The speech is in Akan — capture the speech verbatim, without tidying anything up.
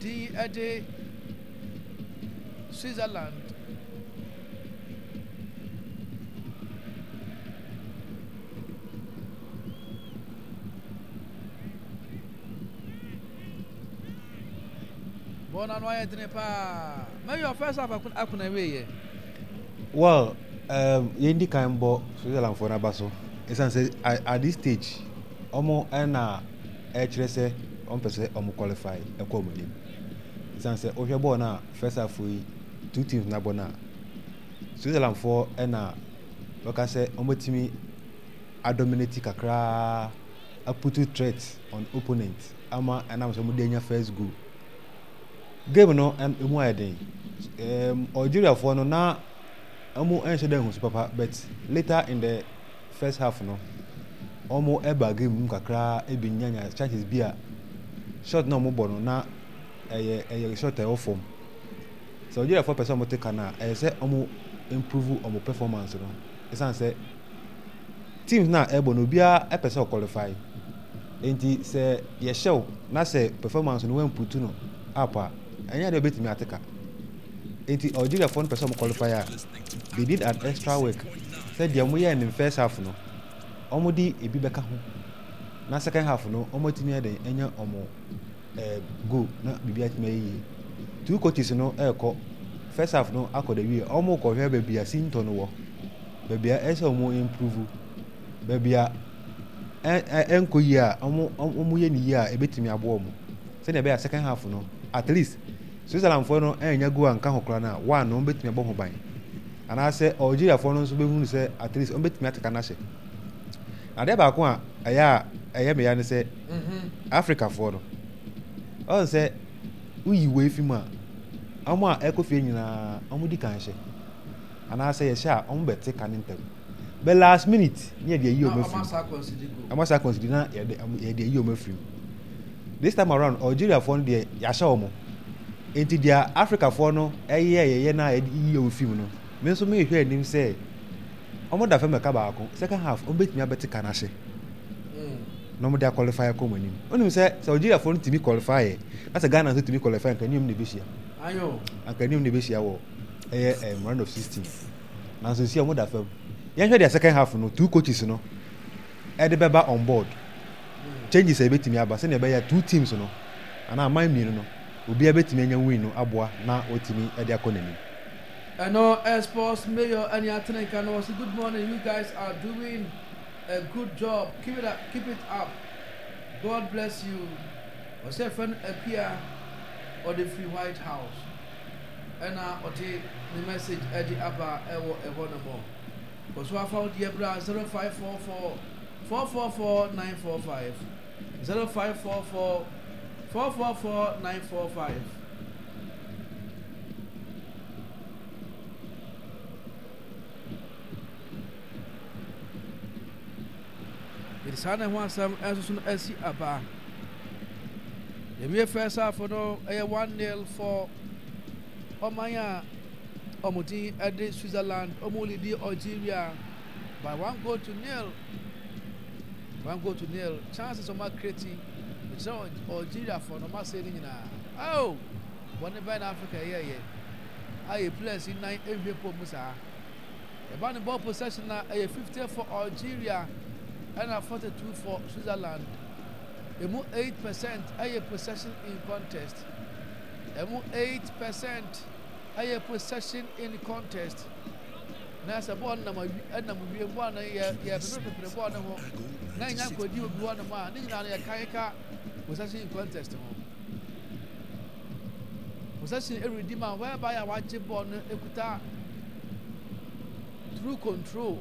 din de Switzerland. Bɔɔl no ano ayɛ dene paa. Mayor, first half akona wieɛ. Well, um, yɛn di kan bɔ Switzerland foɔ n'aba so, ɛsiane sɛ at this stage ɔmo ɛna ɛkyerɛ sɛ ɔmo pɛ sɛ ɔmo qualify ɛkɔ ɔmo anim, ɛsiane sɛ wohwɛ bɔɔl no a, first half yi two teams na bɔ no a, Switzerland foɔ ɛna wɔka sɛ ɔmo tumi adominate kakraa, aput threat on opponent ama ɛnam sɛ ɔmo de anya first goal. Game no emu ayɛ den. um, Algeria foɔ no na ɔmo ɛnhyɛ dɛ nhusu papa, but later in the first half no ɔmo ɛba game mu kakraa, ebi nyanya chances bi a shot na ɔmo bɔ no na ɛyɛ ɛyɛ shot a ɛwɔ fam. Sɛ Algeria foɔ pɛ sɛ ɔmo te ka no a, ɛyɛ sɛ ɔmo improve ɔmo performance no, ɛsan sɛ teams na ɛbɔ no, obiara ɛpɛ sɛ ɔqualify. Nti sɛ yɛhyɛw na sɛ performance no wɔmputu no up a, ɛnyɛ deɛ obetumi ate ka. Nti Algeria foɔ no pɛ sɛ ɔmo qualify a, they did an extra work sɛ deɛ ɔmo yɛ ne first half no, ɔmo de ebi bɛka ho na second half no ɔmo atumi ayɛ den anya ɔmo ɛɛ goal na biribi atumi ayɛ yie. Two coaches no ɛɛkɔ first half no akɔ de wie, ɔmo kɔhwɛ baabi a sintɔ no wɔ, baabi a ɛsɛ ɔmo improve, baabi a ɛ ɛnkɔ yie a ɔmo ɔmo yɛ ne yie a ebetumi aboa ɔmo, sɛdeɛ ɛbɛyɛ a second half no at least Switzerland foɔ no ɛnya goal a nka ho koraa no a one no, ɔmo betumi abɔ ho ban, anaasɛ Algeria foɔ no nso bɛhunu sɛ at least ɔmo betumi ateka n'ahyɛ. Adeɛ baako a ɛyɛ a ɛyɛ meya ne sɛ Africa foɔ no, ɔn sɛ woyi wei fi mu a, ɔmo a ɛkɔ fie nyinaa ɔmo di kan hyɛ anaasɛ yɛhyɛ a, ɔmo bɛte ka ne ntɛm, but last minute ne yɛde ayi ɔmo afiri mu. Ɔmo asa concede na yɛde yɛde ayi ɔmo afiri mu. This time around Algeria foɔ no deɛ, yɛahyɛ ɔmo, nti deɛ Africa foɔ no ɛyɛ yɛyɛ na yɛde yi ɔmo fi mu no, me nso mehwɛ anim sɛ ɔmo da fam ɛka baako, second half ɔmo bɛtumi abɛte ka n'ahyɛ na ɔmo de aqualify kɔ ɔmo anim. Onim sɛ sɛ Algeria foɔ no tumi qualify yɛ na sɛ Ghana nso tumi qualify, nka anim na ebehyia, anka anim na ebehyia wɔ ɛyɛ ɛm round of sixteen. Nanso si ɔmo da fam, yɛnhwɛ deɛ second half no two coaches no ɛde bɛba on board, changes a ebetumi aba, sɛnea ɛbɛyɛ two teams no anaa aman mmienu no obiara bɛtumi anya win no aboa na watumi ɛde akɔ n'anim. Ɛno sports mayor ɛne atenka no, ɔsi, "Good morning, you guys are doing a good job. Keep it up, keep it up. God bless you." Ɔsɛ fɛn Akua, ɔde firi White House ɛna ɔde ne message ɛde aba ɛwɔ ɛhɔ nom. Kɔso afa wo deɛ bra, zero five four four four four four nine four five, zero five four four four four four nine four five. Yɛde saa na ɛho asɛm ɛnso so no asi aba. Yɛwie first half no, ɛyɛ one nil for ɔman a ɔmo din ɛde Switzerland. Ɔmo lead Algeria by one goal to nil, one goal to nil. Chances ɔmo acreate, ɛkyerɛ Algeria fo no, ɔmo asɛ ne nyinaa. Oh, wɔne bɛn na Africa yɛyɛ a yɛ players yi nan ehwie pɔ mu saa. Ɛba ne ball possession na ɛyɛ fifty for Algeria ɛna forty two for Switzerland. Emu eight percent ɛyɛ possession in contest, emu eight percent ɛyɛ possession in contest, na sɛ bɔɔl nam awi ɛnam wiem, bɔɔl no yɛ yɛ pepere bɔɔl no ho na nya nkɔdi obi hɔ nom a, ne nyinaa no yɛ kan ka possession in contest ho. Possession ɛredi ma whereby a wagye bɔɔl no ekuta through control.